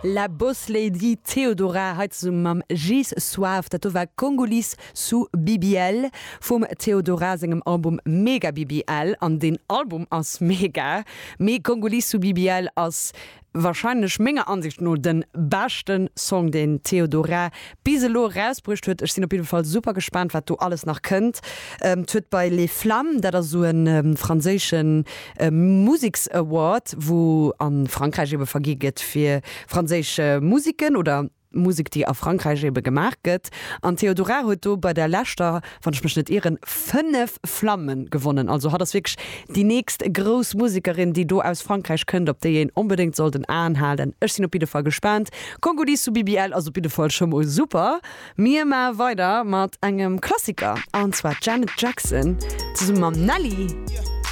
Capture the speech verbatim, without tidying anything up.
La Boss Lady Theodora hei zesumme mam Gilles Suave. Dat do war Congolese sous BBL vum Theodora sengem Album Mega BBL. An deen Album ass mega, mee Congolese sous BBL ass Wahrscheinlech menger Ansicht no den beschten Song deen Theodora bis elo erausbruecht huet. Ech sinn op jidde Fall super gespaant wat do alles nach kënnt. Et huet bei Les Flammes, dat ass esou en franséischen Museks Award wou an Frankräich ebe vergi gëtt fir franséisch Musiken oder Musek déi a Frankräich ebe gemaach gëtt. An d'Theodora huet do bei der leschter, wann ech mech net ieren, fënnef Flamme gewonnen. Also hatt ass wierklech déi nächst grouss Musekerin déi do aus Frankräich kënnt, op déi een onbedéngt sollt en Aen halen. Ech sinn op jidde Fall gespaant. Congolese sous BBL ass op jidde Fall scho mol super. Mir maache weider mat engem Klassiker, an zwar d'Janet Jackson zesumme mam Nelly.